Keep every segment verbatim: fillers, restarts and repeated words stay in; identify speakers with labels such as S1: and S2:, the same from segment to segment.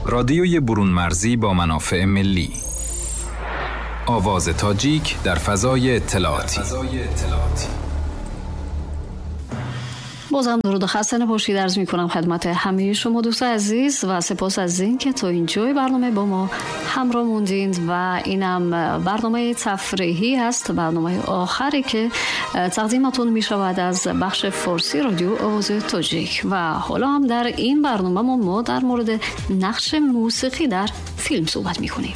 S1: رادیوی برون مرزی با منافع ملی. آواز تاجیک در فضای اطلاعاتی.
S2: بازم درود و خسته نباشید عرض می‌کنم خدمت همه شما دوست عزیز و سپاس از این که تا اینجای برنامه با ما همراه موندید و اینم برنامه تفریحی هست، برنامه آخری که تقدیمتون می‌شود از بخش فارسی رادیو آواز تاجیک. و حالا هم در این برنامه ما در مورد نقش موسیقی در فیلم صحبت می‌کنیم.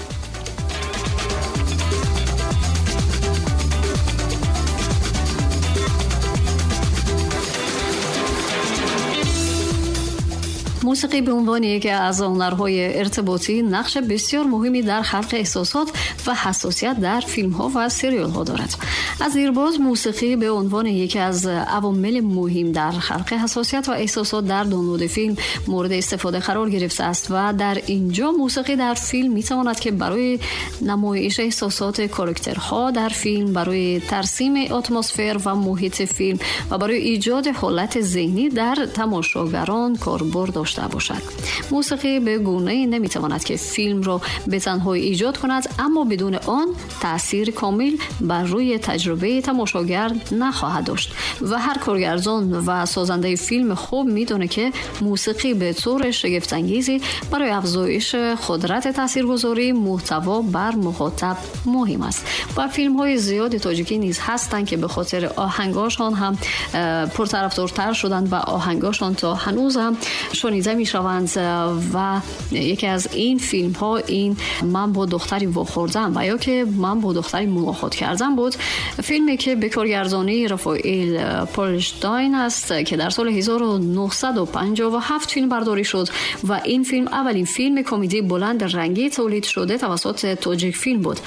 S2: موسیقی به عنوان یکی از هنرهای ارتباطی نقش بسیار مهمی در خلق احساسات و حساسیت در فیلم‌ها و سریال‌ها دارد. از دیرباز موسیقی به عنوان یکی از عوامل مهم در خلق حساسیت و احساسات در دانلود فیلم مورد استفاده قرار گرفته است و در اینجا موسیقی در فیلم می‌تواند که برای نمایش احساسات کاراکترها در فیلم، برای ترسیم اتمسفر و محیط فیلم و برای ایجاد حالت ذهنی در تماشاگران کاربرد داشته باشد. موسیقی به گونه‌ای نمی‌تواند که فیلم را به تنهایی ایجاد کند، اما بدون آن تأثیر کامل بر روی تجربه تماشاگر نخواهد داشت و هر کارگردان و سازنده فیلم خوب می‌دونه که موسیقی به طور شگفت‌انگیزی برای افزایش قدرت تاثیرگذاری محتوا بر مخاطب مهم است. و فیلم‌های زیاد تاجیکی نیز هستند که به خاطر آهنگاشان هم پرطرفدارتر شدند و آهنگاشان تا هنوز هم شنیده میشوند و یکی از این فیلم ها این من با دختری واخوردم و یا که من با دختری ملاقات کردم بود، فیلمی که به کارگردانی رافائیل پولشتاین است که در سال هزار و نهصد و پنجاه و هفت فیلم برداری شد و این فیلم اولین فیلم کمدی بلند رنگی تولید شده توسط تاجیک فیلم بود.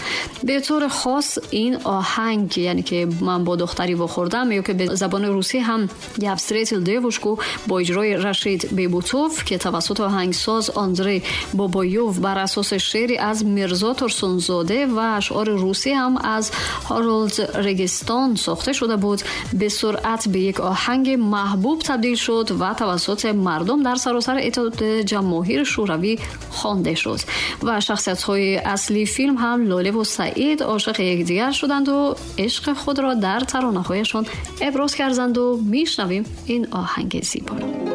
S2: به طور خاص این آهنگ، یعنی که من با دختری واخوردم یا که به زبان روسی هم Я встретил девушку با اجرای رشید بیبوتوف که توسط آهنگساز آندری بابایوف بر اساس شعری از میرزا ترسونزاده و اشعار روسی هم از هارولد رگستان ساخته شده بود، به سرعت به یک آهنگ محبوب تبدیل شد و توسط مردم در سراسر اتحاد جماهیر شوروی خوانده شد و شخصیت‌های اصلی فیلم هم لاله و سعید عاشق یکدیگر شدند و عشق خود را در ترانه‌هایشان ابراز کردند و میشنویم این آهنگ زیبا را.